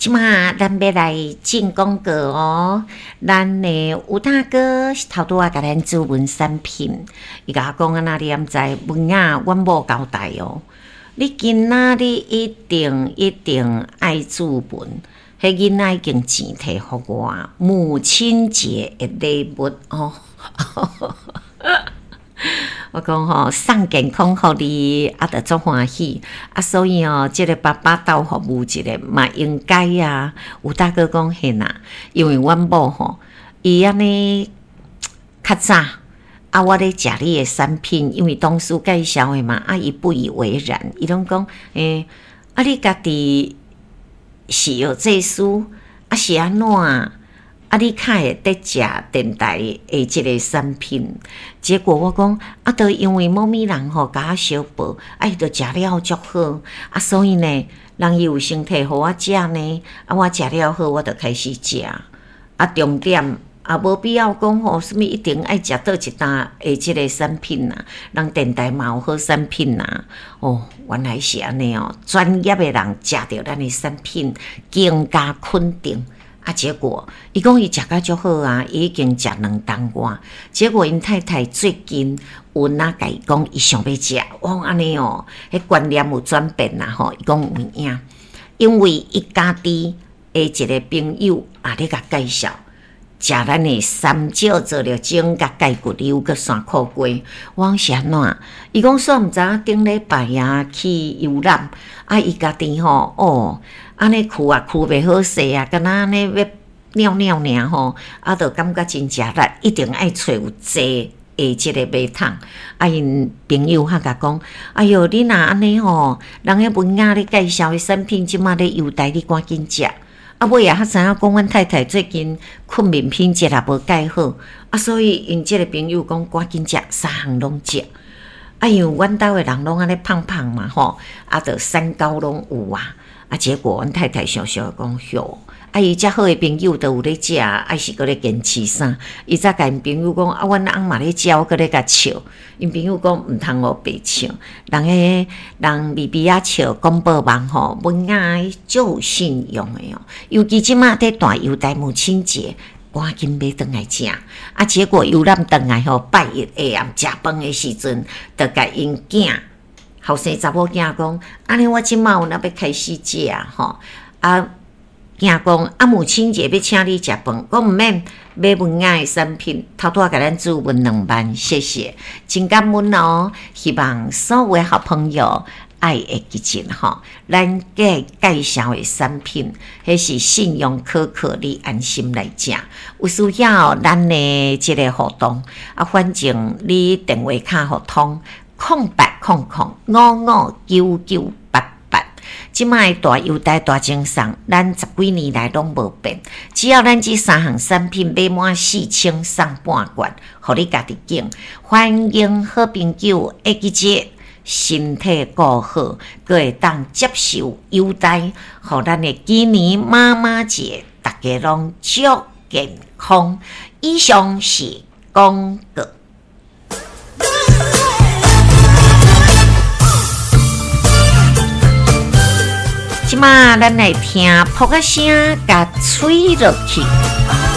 這馬咱欲來進廣告哦。咱的吳大哥頭拄仔共咱諮詢產品，伊共我講按怎你敢知？文雅，阮某交代哦。你今仔日一定一定愛注文，彼囡仔已經錢提予我，母親節的禮物哦。我講吼，送健康予你，啊，就足歡喜。啊，所以哦，這个爸爸鬥服務一下嘛應該啊。吳大哥講嘿啦，因為阮某吼，伊按呢較早啊，我咧食你的產品，因為同事介紹的嘛，啊，伊不以為然，伊攏講，欸，啊，你家己是藥劑師，啊是按怎？啊！你較會得食電台的這个產品，結果我講啊，都因為某物人吼共我相報，啊，伊就食了足好，啊，所以呢，人伊有先提予我食呢，啊，我食了好，我就開始食。啊，重點也無必要講吼，啥物一定愛食佗一擔的這个產品啊，人電台嘛有好產品啊。哦，原來是按呢哦，專業的人食著咱的產品，更加肯定。啊！結果伊講伊食甲足好啊，伊已經食兩冬外。結果𪜶太太最近有哪共伊講，伊想欲食。我講按呢哦，彼觀念有轉變啦吼。伊講有影，因為伊家己的一个朋友也咧共介紹，食咱的三少做了種佮蓋骨溜閣山苦瓜。我講是按怎？伊講煞毋知影頂禮拜啊去遊覽，啊伊家己吼哦。按呢跍啊跍袂好勢啊，敢若按呢欲尿尿爾吼，啊，就感覺真食力，一定愛揣有坐的這个馬桶。啊，𪜶朋友較共講：哎喲，你若按呢吼，人彼文雅咧介紹的產品，這馬咧優待，你趕緊食。啊，尾仔才知影講，阮太太最近睏眠品質也無蓋好，啊，所以𪜶這个朋友講趕緊食，三項攏食。啊，因為阮兜的人攏按呢胖胖嘛吼，啊，就三高攏有啊。啊！結果阮太太想想講，喲，啊，伊遮好的朋友都有咧食，啊是閣咧堅持啥？伊才共𪜶朋友講，啊，阮翁嘛咧食，我閣咧共笑。𪜶朋友講，毋通烏白笑，人彼人微微仔笑，廣播網吼，文雅足有信用的哦。尤其這馬佇大優待母親節，趕緊買轉來食。啊，結果遊覽轉來吼，拜一下暗食飯的時陣，就共𪜶囝。後生查某囝講，按呢我這馬有哪欲開始食吼？啊，囝講啊，母親節欲請你食飯，講毋免買文雅的產品，頭拄仔共咱注文2萬，謝謝，真感恩哦。希望所有的好朋友愛會記得吼，咱介介紹的產品，彼是信用可靠，你安心來食。有需要咱的這个活動，啊，反正你電話卡予通。0800559988，這擺大優待大贈送，咱十幾年來攏無變。只要咱這三項產品買滿4000送半罐，予你家己揀。歡迎好朋友會記得身體顧好，閣會當接受優待，予咱的今年媽媽節，大家攏足健康。以上是廣告。這馬咱來聽噗仔聲，共吹落去。